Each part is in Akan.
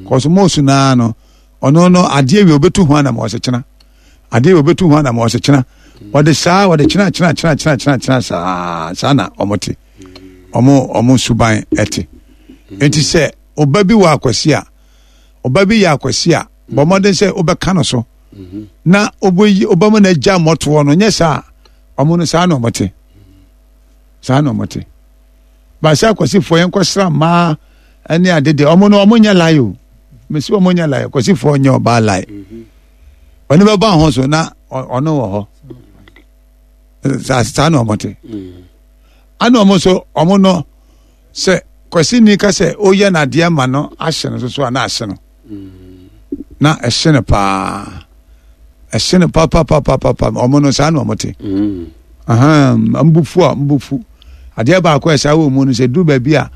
Kɔso mose naa no ɔno no adeɛ wie obetu ho anam ɔsɛ kyena adeɛ wie obetu ho anam ɔsɛ kyena wɔde saa wɔde kyena kyena kyena kyena kyena kyena saa saa na wɔn te wɔn wɔn suban ɛte eti sɛ ɔba bi wɔ akwasi a ɔba bi yɛ akwasi a bɔ mmɔden sɛ wobɛka no so na wobɛyi wobɛma no agya mmɔtoɔ no nyɛ saa wɔn no saa na wɔn te saa na wɔn te. Baasa akwasifoɔ yɛn kɔsra mmaa ne ade deɛ ɔmo no ɔmo nyɛ lae o mesi ɔmo nyɛ lae akwasifoɔ nyɛ ɔbaa lae ɔno bɛba ho so na ɔno wɔ hɔ saa saa na ɔmo te ana ɔmo nso ɔmo no sɛ kwasini ka sɛ ɔyɛ n'adeɛ ma no ahye no soso a na ahye no na ɛhye no paa ɛhye no papapapapa ɔmo no saa na ɔmo te mbufu a mbufu adeɛ baako a ɛsaa wɔ mu no sɛ duru baabi a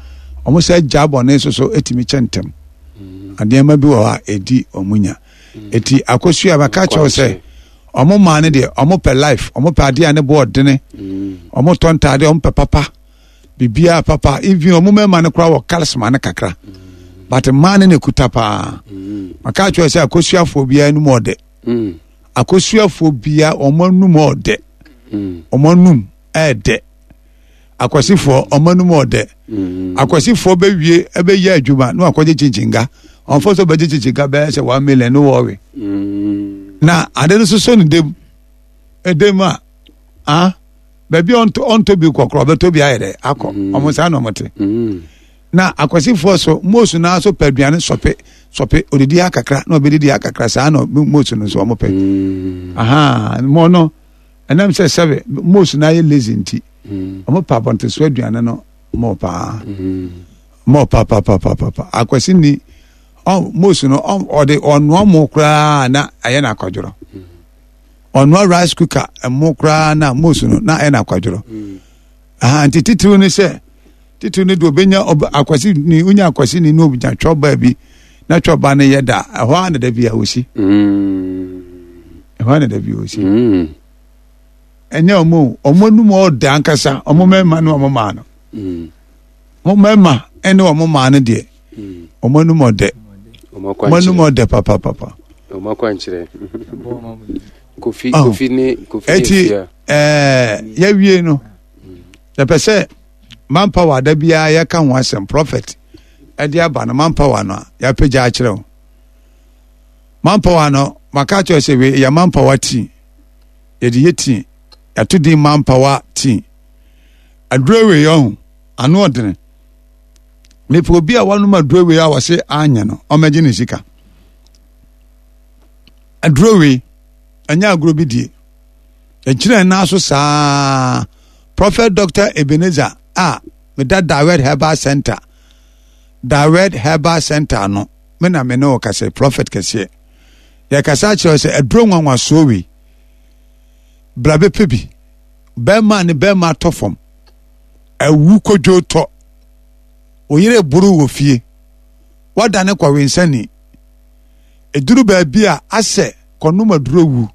ɔmo sɛ gya bɔne soso etumi kyɛ ntɛm adeɛma bi wɔ hɔ a edi ɔmo nya eti akosua bɛka kyerɛw sɛ ɔmo maa no deɛ ɔmo pɛ life ɔmo pɛ adeɛ a ne bo ɔdene ɔmo tɔ ntaade ɔmo pɛ papa. Biribiara papa even ɔmo mmarima no koraa wɔ charisma no kakra but mmaa no na ekuta paa maka akyerɛ sɛ akosuafoɔ biara anum ɔdɛ akosuafoɔ biara wɔn anum ɔdɛ wɔn anum ɛɛdɛ akwasifoɔ wɔn anum ɔdɛ akwasifoɔ bɛwie ɛbɛyɛ adwuma na wakɔgye kyinkyiga ɔnfɔ so bɛgye kyinkyiga bɛyɛ sɛ 1 million no wɔwe na ade no soso ne dem edem a ah. Baabi a ɔntɔ ɔntɔ bi kɔkorɔ ɔbɛtɔ bi ayɛ dɛ akɔ mm. Ɔmo saa na ɔmo te na akwasifoɔ so moosu naa so pɛ aduane sɔpe sɔpe odidi ha kakra na ɔbɛdidi ha kakra saa na moosu no nso ɔmo pɛ aha mo no ɛnam sɛ sɛbe moosu naa yɛ lazy nti ɔmo pɛ abɔnteso aduane no mo paa mo papapapaapa akwasi ni ɔ moosu no ɔde ɔnoa mo koraa na ɛyɛ na akɔdworɔ. Ɔnoa rice cooker ɛmo koraa na mose no na ɛna akwadworɔ mm. Aha nti titiriw ne sɛ titiriw ne de obenya akwasi ni onya akwasi ni na obenya twɔba bi na twɔba no yɛ da ɛhɔ a na da bi a osi ɛhɔ a na da bi a osi ɛnyɛ ɔmo ɔmo anum ɔda ankasa ɔmo mmarima ne ɔmo maa no ɔmo mmarima ne ɔmo maa no deɛ ɔmo anum ɔdɛ ɔmo anum ɔdɛ papapapa. Ɔmo akwankyerɛ kofi kofi ne kofi ne eti yɛwie no yɛpɛ sɛ manpower da biara yɛka ho asɛm prophet ɛde aba no manpower no a yɛapagya akyerɛ wo manpower no maka akyerɛ sɛ wei yɛ manpower tea yɛde yɛ tea yɛato din manpower tea aduro wei ɔho ano ɔdene mepɛ obi a wanom aduro wei a wɔse anyɛ no ɔmɛgye ne sika aduro wei ɛnyɛ agorɔ bi die ɛgyina nan so saa Prophet Dr. Ebenezer a meda Dawed Herbal Center Dawed Herbal Center no me na me ne wo kasa prophet kɛseɛ yɛkasa akyerɛ sɛ aduro nwanwasoɔ wei bra bɛpɛ bi bɛrima ne bɛrima atɔ fam awu kodwo tɔ wo yere boro wɔ fie wadane kɔwensani ɛduru baabi a asɛ kɔnom aduro wu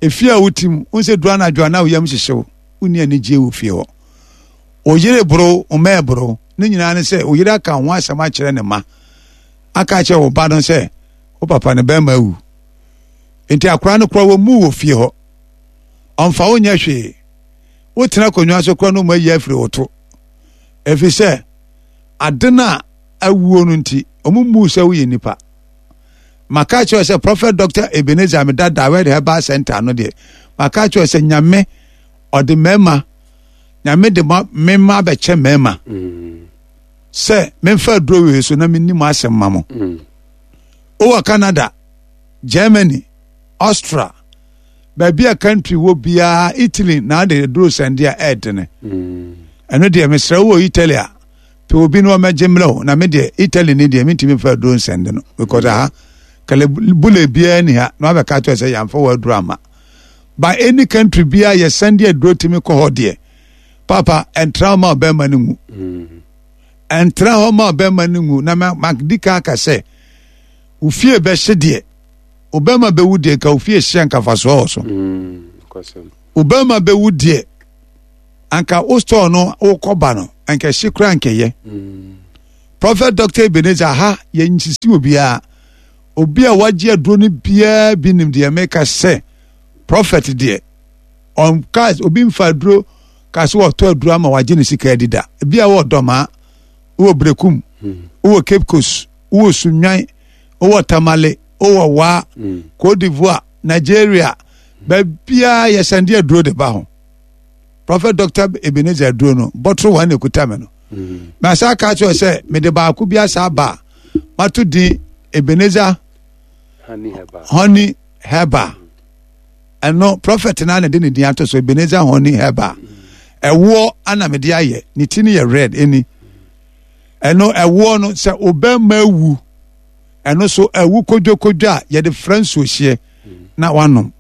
efie a wote mu wo sɛ duru anadwo a na wo yam hyehye wo wonni anigyeɛ wɔ fie hɔ wo yere boro wo mma ɛboro ne nyinaa ne sɛ wo yere aka ho asɛm akyerɛ ne ma aka akyerɛ wo ba no sɛ wo papa ne bɛrima awu nti akora no kora wɔ mu wɔ fie hɔ ɔmfa wo nyɛ hwee wotena akonnwa so kora no mu ayi afiri wo to ɛfiri sɛ ade no a awuo no nti ɔmo mmu sɛ woyɛ nipa maka kyerɛ sɛ Prophet Dr. Ebenezer meda Dawed Herbal Center no deɛ maka kyerɛ sɛ nyame ɔde mmarima nyame de ma mema abɛkyɛ mmarima sɛ memfa aduro wei so na menni mo asɛm ma mo wowɔ Canada, Germany, Austria, baabi a country wɔ biara Italy na ade aduro sɛnde a ɛɛdene ɛno deɛ mesrɛ wowɔ Italy a pɛ obi na ɔmɛgye mmerɛ o na me deɛ Italy ni deɛ mentumi mfa aduro nsɛnde no because aha kɛlɛ bule biara ni ha na wabɛka kyerɛ sɛ yɛamfa wɔ aduro ama by any country biara yɛsɛnde aduro tumi kɔ hɔ deɛ papa ɛntra hɔ ma ɔbɛrima no ngu ɛntra hɔ ma ɔbɛrima no ngu na madi kan aka sɛ ofie bɛhye deɛ ɔbɛrima bɛwu deɛ nka ofie hyɛ nkafasoɔ wɔ so ɔbɛrima bɛwu deɛ anka wo store no wokɔba no anka ɛhye koraa nkɛyɛ. Prophet Dr. Ebenezer ha yɛnsisi obiara. Obi a wagye aduro no biara bi nim deɛ meka sɛ prophet deɛ ɔnka obi mfa aduro ka sɛ wɔtɔ aduro ama wagye ne sika adi da. Ebi a wɔ Dɔmaa, wɔ Berekum, wɔ Cape Coast, wɔ Sunwan, wɔ Tamale, wɔ Waa, Cote d'Ivoire, Nigeria, baabiara yɛsɛnde aduro de ba ho. Prophet Dr. Ebenezer aduro no, bɔtoro wɔn na ekuta me no. Na asa aka kyerɛ sɛ mede baako bi asa aba a mato din Ebenezer Honey Herbal. Ɛno prophet na na de ne din ato so Ebenezer Honey Herbal. Ɛwoɔ ana mede ayɛ ne ti no yɛ red ɛni. Ɛno ɛwoɔ no sɛ obɛma awu ɛno so ɛwu kodwokodwo a yɛde frɛ nsuohyeɛ na wanom.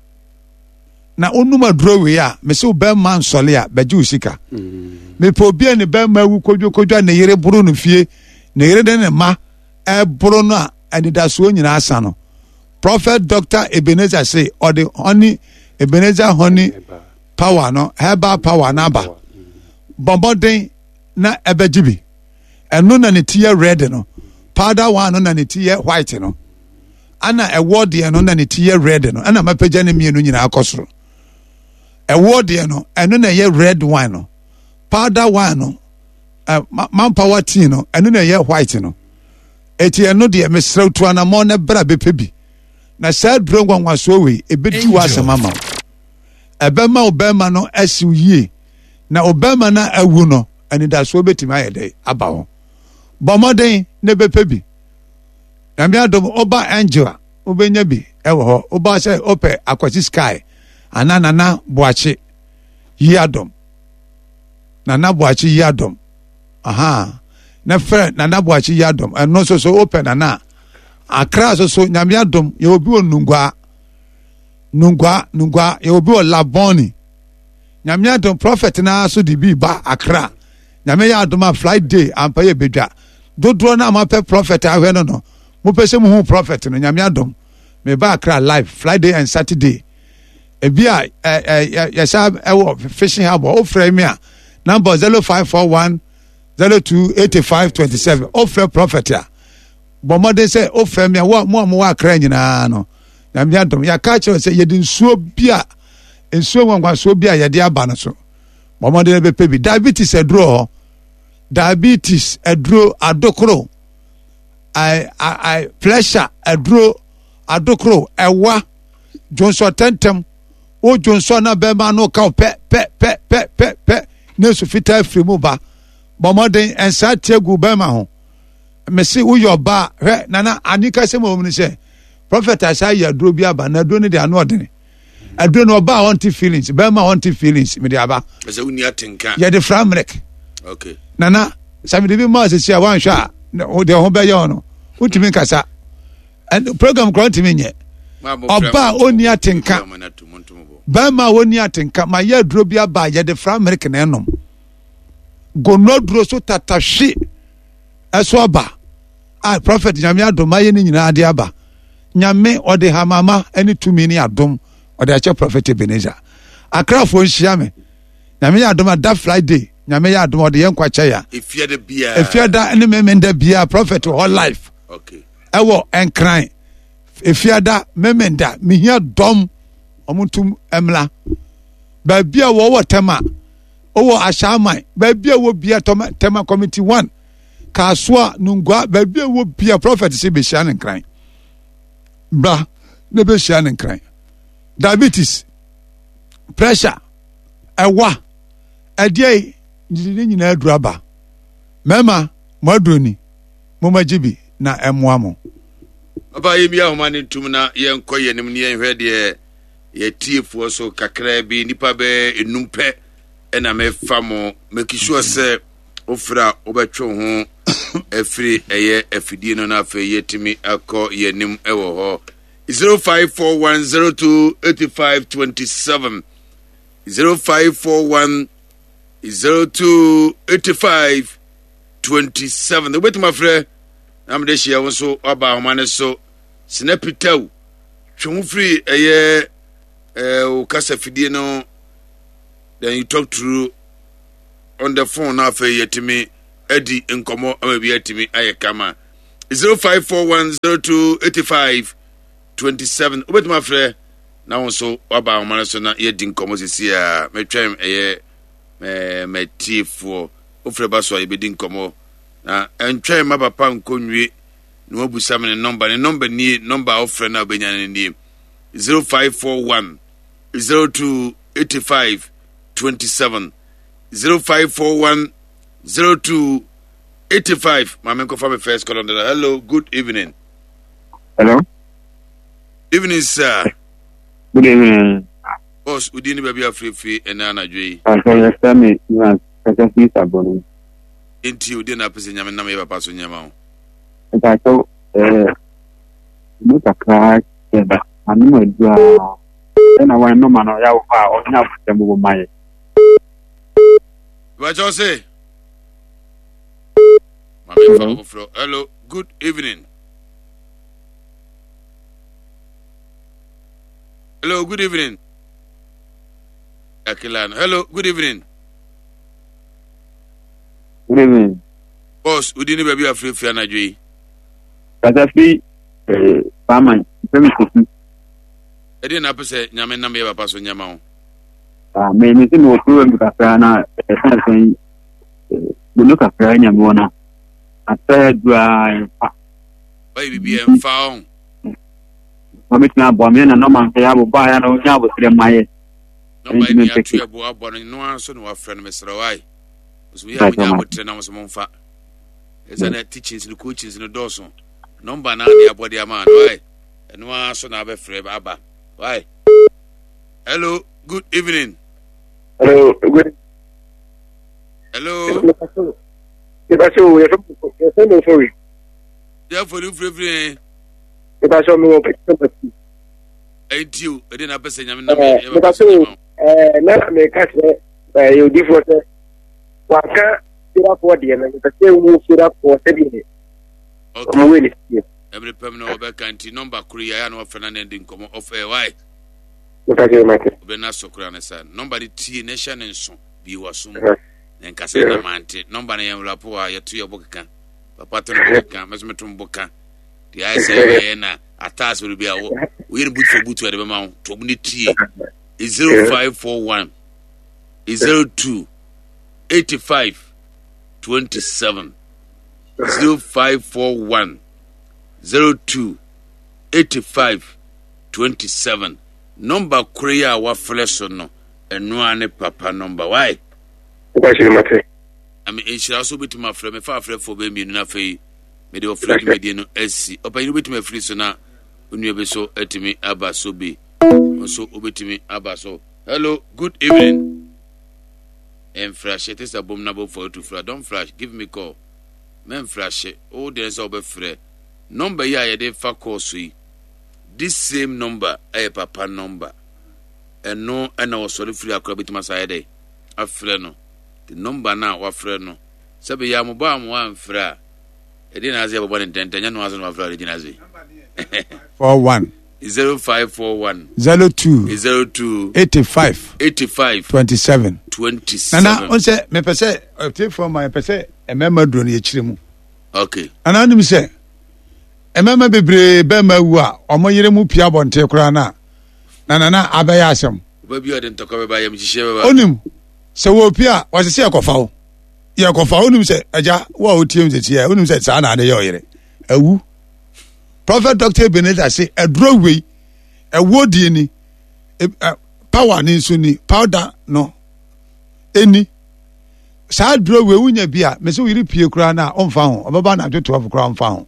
Na onum aduro wei a mese wo bɛrima nsɔle a bɛgye wo sika. Mepɛ obi a ne bɛrima awu kodwokodwo a ne yere boro no fie, ne yere ne ne mma ɛboro no a anidasoɔ nyinaa asa no. Prophet Dr. Ebenezer se ɔde honey Ebenezer honey power no herbal power no aba. Bɔ mmɔden na ɛbɛgye bi. Ɛno na ne ti yɛ red no. Powder one no na ne ti yɛ white no. Ana ɛwɔ deɛ no na ne ti yɛ red no. Ɛna mapagya ne mmienu nyinaa kɔ soro. Ɛwɔ deɛ no ɛno na ɛyɛ red wine no. Powder wine no uh, manpower tea no ɛno na ɛyɛ white no. Eti ɛno deɛ mesrɛ tu anamɔ na bra bɛpɛ bi. Na saa duro nwanwasoɔ wei ɛbɛdi w'asɛm ama wo. Ɛbɛma wo bɛrima no asiw yie. Na wo bɛrima no awu no anidasoɔ bɛtumi ayɛ dɛ aba ho. Bɔ mmɔden na bɛpɛ bi. Nyame adom woba Angel a wobɛnya bi ɛwɔ hɔ. Woba sɛ wopɛ Akwasi Sky anaa Nana Boakye yi adom. Nana Boakye yi adom. Aha. Na frɛ Nana Boakye yi adom. Ɛno nso so wopɛ Nana a. Akra nso so Nyame adom yɛwɔ bi wɔ Nungua. Nungua, Nungua, yɛwɔ bi wɔ Labone. Nyame adom prophet naa so de bi ba Accra. Nyame yɛ adom a Friday ampa yɛ bedwa. Dodoɔ no a mapɛ prophet ahwɛ no no, mopɛ sɛ muhu prophet no, Nyame adom. Me ba Accra live Friday and Saturday. Ebi a yɛsa ɛwɔ fishing harbor, wofrɛ me a number 0541 02 85 27. Wofrɛ prophet a bɔ mmɔden sɛ wofrɛ me a mo a mowɔ Accra nyinaa no. Nyame adom yɛaka akyerɛ sɛ yɛde nsuo bi a nsuo nwanwasoɔ bi a yɛde aba no so bɔ mmɔden bɛpɛ bi. Diabetes aduro hɔ, diabetes aduro adokoro, pressure aduro adokoro, ɛwa dwonsɔ tɛntɛm, wo dwonsɔ na bɛrima no ka wo pɛ pɛ pɛ pɛ pɛ pɛ ne nsu fitaa firi mu ba. Bɔ mmɔden nsa tie gu bɛrima ho. Mese woyɛ ɔbaa hwɛ nana anika sɛ mu no sɛ prophet asa ayɛ aduro bi aba na aduro no de ano ɔdene. Aduro no ɔbaa ɔnte feelings, bɛrima ɔnte feelings mede aba. Ɛsɛ wonni atenka. Yɛde fra mmerɛk. Okay. Nana sɛ mede bi maa sisi a wanhwɛ a deɛ ho bɛyɛ ɔno wontumi nkasa. Program koraa ntumi nyɛ. Ɔbaa ɔnni atenka. Bɛrima a ɔnni atenka ma yɛ aduro bi aba yɛde fra mmerɛk na ɛnom. Gono aduro so tatahwe ɛso aba. A prophet Nyame adom ayɛ ne nyinaa de aba. Nyame ɔde hamama ne tumi ne adom ɔde akyɛ prophet Ebenezer. Akrafoɔ nhyia me. Nyame yɛ adom a da Friday Nyame yɛ adom ɔde yɛn nkwa kyɛ ya. Efiada biara. Efiada ne memenda biara prophet wɔ hɔ life. Okay. Ɛwɔ Nkran. Efiada memenda mehia dɔm ɔmo ntum mmla. Baabi a wɔwɔ Tema, wɔ Ashaiman, baabi a wɔ bia Tema Committee 1. Kasoa, Nungua, baabi a ɛwɔ bia prɔfɛt sɛ bɛhyia ne nkran. Bra na bɛhyia ne nkran. Diabetes, pressure, ɛwa, ɛdeɛ ne nyinaa aduru aba. Mmarima, mo aduro ni, momma gye bi na ɛmmoa mo. Papa yɛmmia ahoma no ntom na yɛnkɔ yɛn anim na yɛnhwɛ deɛ yɛtiefoɔ so kakraa bi nnipa bɛɛ enum pɛ ɛna mefa mo make sure sɛ wofrɛ a wobɛtwe wo ho afiri ɛyɛ afidie no na afei yɛtumi akɔ yɛn anim wɔ hɔ 0541028527 0541028527 wobɛtumi afrɛ na mede hyia wo nso waba ahoma no so sinapitaw twe ho firi ɛyɛ wo kasa fidie no then you talk through on the phone na afei yɛtumi adi nkɔmmɔ ama bi atumi ayɛ kama. 0541 02 85 27 wobɛtumi afrɛ na wo nso waba ahoma no so na yɛadi nkɔmmɔ sisi a metwɛn ɛyɛ matiefoɔ wofrɛ ba so a yɛbɛdi nkɔmmɔ na ɛntwɛn ma papa nkɔ nwie na wabusa me ne nɔmba ne nɔmba nie nɔmba a wofrɛ no a wobɛnya no nie 0541 02 85 27 0541 02 85 maame nkɔfa me first call on the hello good evening hello evening sir good evening boss wodi ne baabi afirifiri ɛnɛ anadwo yi Pastor yɛfrɛ me Evans kasa firi Sabone. Enti odi na apɛ sɛ nyame nam yɛ papa so nyɛma wo. Mpakyɛw ɛɛ mu kakra kyɛ ba anom aduru a ɛna wɔn nɔma no yɛ wɔ hɔ a ɔnyɛ abotɛ mu ma yɛ. Mpakyɛw se maame fa foforɔ hello good evening. Hello good evening. Akilano hello good evening. Good evening. Boss, wodi ne baabi afirafira anadwo yi. Kasa fi eh, Faman, mfɛ mi kofi. Ɛdeɛ na apɛ sɛ nyame nam yɛ papa so nyɛma wo. Ah, me me se me wɔ problem kakra na ɛfa sɛn bono kakra nya me wɔ na asɛ dura ɛmfa. Ɔyɛ biribi ɛmfa ɔn. Wɔbɛtumi aboa me na nɔma nso yɛ abobɔ a yɛ na ɔnya abotrɛ ma yɛ. Nɔma yi ni ato ɛbo abɔ no no ara nso na wafrɛ no mesrɛ wo ae. Nso yɛ a monya abotrɛ na mo nso momfa. Ɛsɛ na teachings no coachings no dɔɔso. Nɔmba na de abɔ de ama no ae. Ɛno ara nso na abɛfrɛ aba. Why? Hello, good evening. Hello, good. Hello. Mepaso, yɛfɛ mo fori. Yɛ fori firifiri. Mepaso, mewɔ pɛtɛ pɛtɛ. Ɛnti o, ɛdeɛ na apɛ sɛ nyame nam yɛ bɛba so nyama o. Na meka kyerɛ ɛyɛ odifoɔ sɛ waka firafoɔ deɛ no mepɛ sɛ wo firafoɔ sɛdeɛ ɔmo wei ne sie. Ɛmere pɛm na wɔbɛka nti nɔmba koro yi ayɛ na wɔfrɛ na ne de nkɔmmɔ ɔf ɛ wae. Mepa kyerɛ mate. Ɔbɛ na sɔ koraa ne sa nɔmba de tie na ɛhyɛ ne nso bi wɔ so mu na nkasa na mante nɔmba no yɛn wura po a yɛto yɛ bo keka papa to no bo keka mɛso meto bo ka deɛ ayɛ sɛ ɛyɛ na ataase wɔ bi a wo woyɛ no boot for boot a de bɛma wo to ne tie 0541 02 85 27 0541 02 85 27 nɔmba koro yi a wafrɛ so no ɛnoa ne papa nɔmba wae ame nhyira so wobɛtumi afrɛ mefa afrɛfoɔ bɛ mmienu no afei mede ɔfrɛ dwumadie no asi ɔpanyin wobɛtumi afiri so na onua bi so atumi aba so bi nso wobɛtumi aba so hello good evening mfrahye te sɛ bom na bɔfo atu fra don't flash give me call mɛmfrahye wo deɛ sɛ wobɛfrɛ nɔmba yi a yɛde fa call so yi this same number ɛyɛ papa number ɛno ɛna wɔsɔre firi akora bɛtumi asa ayɛ dɛ afrɛ no the number no a wafrɛ no Sɛ bɛyɛ a mobɔ a mo amfrɛ a, ɛdeɛ na ase yɛbɔbɔ ne ntɛntɛn, nyɛ no ase na wafrɛ a ɔde gyina ase. 41 0541 02 02 85 85 27 27. Nana, on sɛ mepɛ sɛ ɔtiefoɔ ma yɛpɛ sɛ mmarima duro no yɛkyerɛ mu. Okay. Nana wonim sɛ mmarima bebree bɛrima awu a wɔn yere mu pia abɔnten koraa no a na nana abɛyɛ asɛm. Ɔba bi a ɔde ntɔkwa bɛba yam hyehyeɛ bɛba. Onim sɛ wɔpia a wɔsɛ sɛ yɛkɔfa wo. Yɛkɔfa wonim sɛ agya wo a wotie m sɛsi a wonim sɛ saa na ade yɛ ɔyere awu Prophet Dr. Ebenezer se aduro wei ɛwoɔ die ni power ne nso ni powder no ɛni saa aduro wei wonya bi a mese wo yere pie koraa no a ɔmfa ho ɔbɛba anadwo 12 koraa ɔmfa ho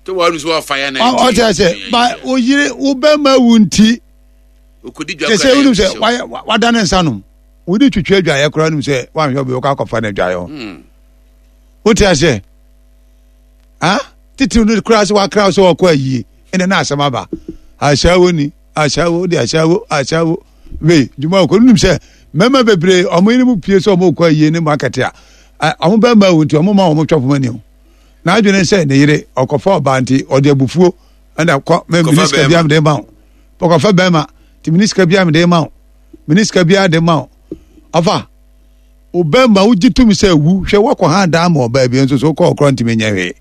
ɔkyerɛ sɛ ba wo yere wo bɛma wu nti kyɛ sɛ wonim sɛ wada ne nsa nom wode twitwi adwaeɛ koraa nim sɛ woanhwɛ obi wokɔ akɔfa no adwaeɛ hɔ hmm. wote aseɛ ha titiriw no koraa sɛ wakra sɛ wɔkɔ ayie ɛnɛ na asɛm aba ahyɛwo ni ahyɛwo de ahyɛwo ahyɛwo wei dwuma ɔkɔ nim sɛ mmarima bebree ɔmo yere mu pie sɛ ɔmo kɔ ayie ne market a ɔmo bɛrima awu nti ɔmo ma ɔmo twɛ poma ni o n'adwene sɛ ne yere ɔkɔfa ɔbaa nti ɔde abufuo ɛna kɔ mɛ minisika bi amede ma o ɔkɔfa bɛrima nti minisika bi amede ma o mene sika biara de ma wo ɔfa. Wo bɛrima wogye tom sɛ awu hwɛ woakɔ ha daa ma ɔbaa bi nso so wokɔ ɔkorɔ ntumi nyɛ hwee.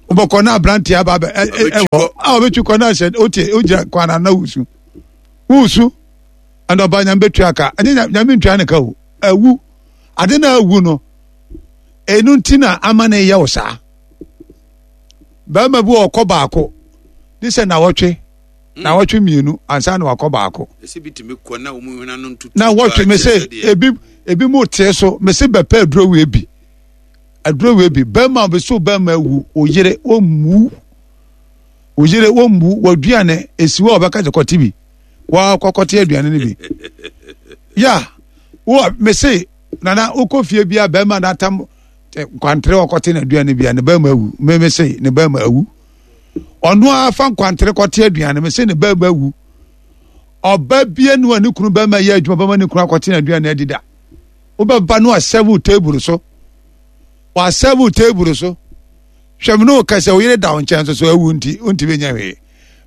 Wobɛkɔ na aberanteɛ aba abɛ ɛwɔ a ɔbɛtwi kɔ na ahyɛ wote wogyina kwan na na wusu. Wusu ɛna ɔbaa nyame bɛtua ka ɛnyɛ nyame ntua ne ka o awu ade na awu no ɛno nti na ama ne yɛ wo saa. Bɛrima bi wɔ ɔkɔ baako ne sɛ nawɔtwe nawɔtwe mmienu ansa na wakɔ baako. Na wɔtwe me se ebi ebi mu tee so me se bɛpɛ aduro wei bi aduro wei bi bɛrima bi so bɛrima awu oyere wɔmmu oyere wɔmmu wɔaduane esi hɔ a ɔbɛka sɛ kɔte bi wɔakɔkɔte aduane no bi ya wɔ me se nana wokɔ fie bi a bɛrima n'atam nkwantere ɔkɔte n'aduane bi a ne bɛrima awu me me se ne bɛrima awu. Ɔno ara fa nkwantere kɔte aduane me se ne bɛrima awu. Ɔba bie no a ne kunu bɛrima yɛ adwuma bɛma ne kunu akɔte n'aduane adi da. Wobɛba no asɛvo table so. Wasɛvo table so. Hwɛ me ne wo kasa wo yere da wo nkyɛn so so awu nti wontumi nyɛ hwee.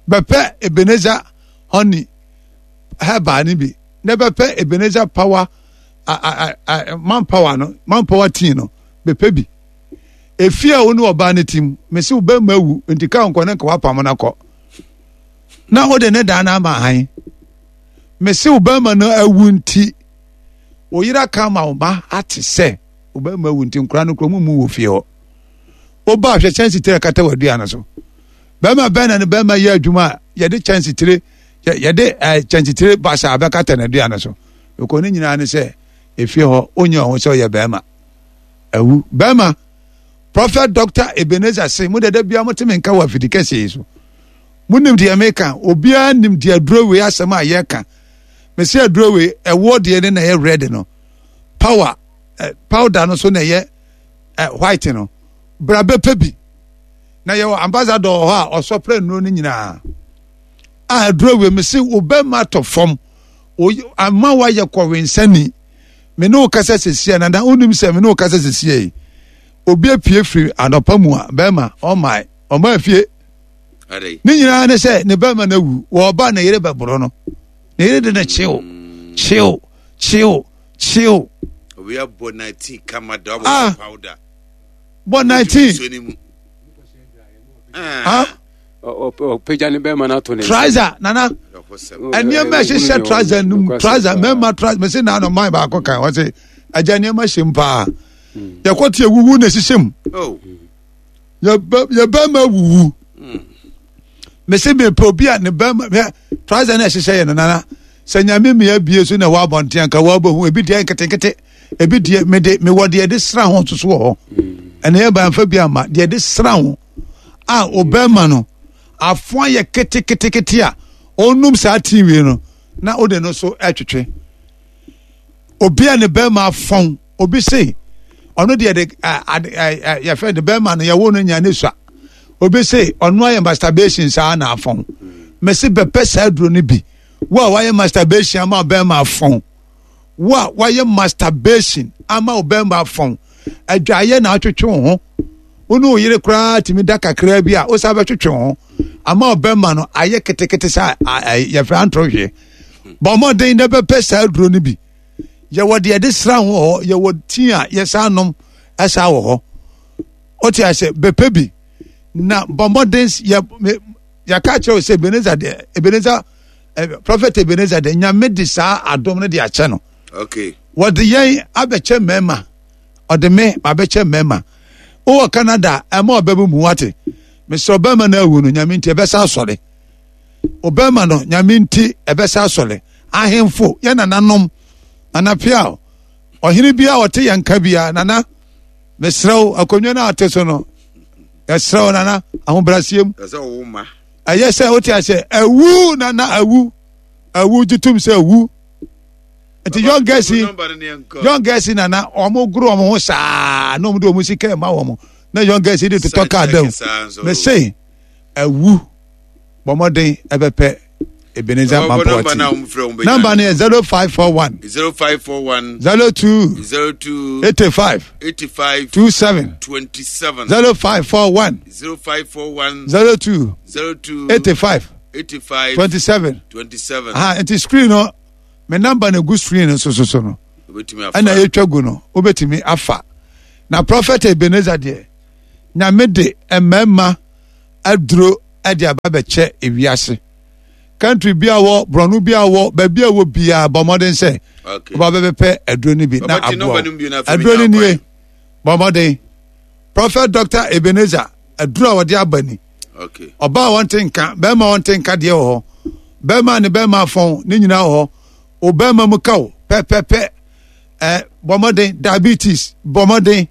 Bɛpɛ Ebenezer honey herbal no bi na bɛpɛ Ebenezer power a, a, a, man power no man power tea no bɛpɛ bi. Efie a wo ne ɔbaa no tim, mese wo bɛrima awu, nti ka nkɔ ne nka wapam no akɔ. Na wode ne dan no ama han. Mese wo bɛrima no awu nti, wo yere aka ama wo ma ate sɛ wo bɛrima awu nti nkora no kura mu mu wɔ fie hɔ. Woba ahwɛ kyɛnse tire kata w'aduane no so. Bɛrima bɛn na ne bɛrima yɛ adwuma a yɛde kyɛnse tire yɛde eh, kyɛnse tire basa abɛkata n'aduane so. Ɛkɔ ne nyinaa ne sɛ efie hɔ wonyɛ ɔho sɛ ɔyɛ bɛrima. Awu. Bɛrima, Prophet Doctor Ebenezer se, mo dada biara mote me nka wɔ afidi kɛseɛ yi so. Monim deɛ meka, obiara nim deɛ aduro wei asɛm a yɛka. Mese aduro wei, ɛwoɔ deɛ ne na ɛyɛ red no. Power, eh, powder no so na ɛyɛ eh, white no. Bra bɛpɛ bi. Na yɛwɔ ambassador wɔ hɔ a ɔsɔprɛ nnuro no nyinaa. A aduro wei, mese wo bɛrima atɔ fam, ama woayɛ kɔwensani. Me ne wo kasa sesia nana wonim sɛ me ne wo kasa sesia yi obi apue firi anɔpa mu a bɛrima ɔmae ɔma afie ne nyinaa ne sɛ ne bɛrima no awu wɔba ne yere bɛboro no ne yere de no kyew kyew kyew kyew obi abɔ 19 kama da ɔbɔ ah. powder bɔ 19 ah. Ɔpagya ne bɛrima no ato ne trouser nana nneɛma ɛhyehyɛ trouser no mu trouser mmarima trouser mese na ano man baako kan wɔ se agya nneɛma hyɛ mu paa hmm. yɛkɔ te awuwu na ɛhyehyɛ mu oh. yɛ bɛrima awuwu hmm. mese mepɛ obi a ne bɛrima hwɛ trouser no ɛhyehyɛ yɛ no nana sɛ nyame mmea bie so na ɛwɔ abɔnten anka wɔabɛhu ebi deɛ nketenkete ebi deɛ mede mewɔ deɛ de sra ho nso so wɔ hɔ hmm. ɛna yɛ banfa bi ama deɛ de sra ho a ɔbɛrima no afoa yɛ keteketekete a ɔnum saa tii wei no na ɔde no so ɛtwetwe obi a ne bɛrima afɔn obi se ɔno deɛ de yɛfɛ ne bɛrima no yɛwo no nya ne sua obi se ɔno ayɛ masturbation saa na afɔn mɛsi bɛpɛ saa aduro no bi wo a wayɛ masturbation ama bɛrima afɔn Wo a woayɛ masturbation ama wo bɛrima afɔn, adwaeɛ na atwetwe wo ho. Wo ne wo yere koraa tumi da kakraa bi a wosan bɛtwetwe wo ho ama wo bɛrima no ayɛ ketekete sɛ yɛfrɛ antorɔhweɛ. Bɔ mmɔden na bɛpɛ saa aduro no bi. Yɛwɔ deɛ yɛde sra ho wɔ hɔ, yɛwɔ tea a yɛsan nom ɛsaa wɔ hɔ. Wote ase bɛpɛ bi na bɔ mmɔden yɛ yɛka kyerɛ wo sɛ Ebenezer deɛ Ebenezer eh, Prophet Ebenezer deɛ Nyame de saa adom no de akyɛ no. Okay. Wɔde yɛn abɛkyɛ mmarima. Ɔde me abɛkyɛ mmarima. Wowɔ Canada ɛma ɔbɛmu mu wate. Mesrɛ ɔbɛrima no awu no Nyame nti ɛbɛsa asɔre. Ɔbɛrima no Nyame nti ɛbɛsa asɔre. Ahemfo yɛ nananom nana piaw ɔhene bi a ɔte yɛn nka bia nana mesrɛ wo akonnwa no a ɔte so no yɛsrɛ wo nana ahobrɛaseɛ mu ɛyɛ sɛ wote aseɛ awu nana awu awu gye tom sɛ awu nti young girls yi young girls yi nana wɔn goro wɔn ho saa na wɔn de wɔn sika ɛma wɔn na young girls yi de totɔ kaa dɛm mɛ se awu bɔ mmɔden ɛbɛpɛ Ebenezer Mampɔti namba no yɛ 0541 0541 02 02 85 85 27 27 0541 0541 02 02 85 85 27 27. Aha, nti screen no me namba no gu screen no so so so no. Ɛna yɛtwa gu no, wobɛtumi afa. Na Prɔfɛt Ebenezer deɛ, Nyame de mmarima aduro de aba bɛkyɛ ewiase. Country bi a wɔ, borɔno bi a wɔ, baabi a wɔ biara, bɔ mmɔden sɛ woba bɛbɛpɛ aduro no bi na aboa wo. Aduro no nie, bɔ mmɔden. Prɔfɛt Dr. Ebenezer, aduro a wɔde aba ni. Ɔbaa a wɔnte nka, bɛrima a wɔnte nka deɛ wɔ hɔ. Bɛrima ne bɛrima afɔn, ne nyinaa wɔ hɔ. Wo bɛrima mu ka wo pɛpɛpɛ. Ɛ bɔ mmɔden, diabetes, bɔ mmɔden.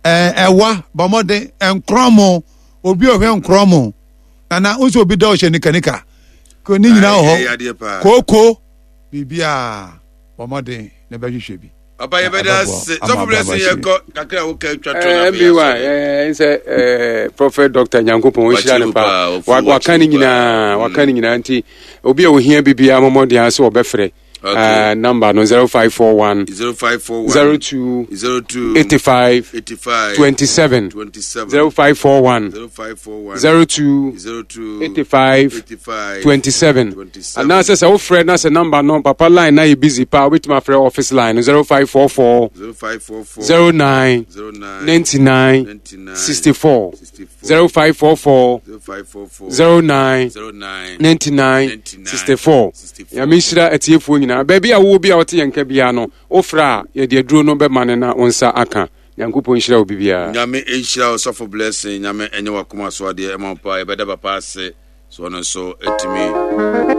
Ɛ ɛwa, bɔ mmɔden. Nkorɔmo, obi a ɔhwɛ nkorɔmo. Nana, wo nso obi da ɔhyɛ nikanika. Ne nyinaa wɔ hɔ. Kooko, biribiara, bɔ mmɔden na bɛhwehwɛ bi. Papa yɛ bɛda ase sɔfo bɛ se yɛ kɔ kakra wo ka twa to na bia so. Eh sɛ eh prophet doctor Nyankopɔn nhyira ne pa. Waka ne nyinaa, waka ne nyinaa nti obi a ohia bibia mɔmɔden ase wɔbɛfrɛ. Okay. Uh, number no 0541 0541 02 02 85 85 27 27 0541 0541 02 02 85 85 27 27 anaasɛ sɛ wofrɛ na sɛ number no papa line na yɛ busy paa wobɛtumi afrɛ office line no 0544 0544 09 09 99 99 64 64 0544 0544 09 09 99 64 Nyame nhyira atiefoɔ nyinaa baabi a wowɔ bi a wote yɛn nka biara no wofrɛ a yɛde aduro no bɛma no na wo nsa aka Nyankopɔn nhyira obi biara. Nyame nhyira wo sɔfo Blessing, Nyame ɛnyɛ wakoma so adeɛ ɛma wo paa, yɛbɛda papa ase so ɔno nso ɛtumi.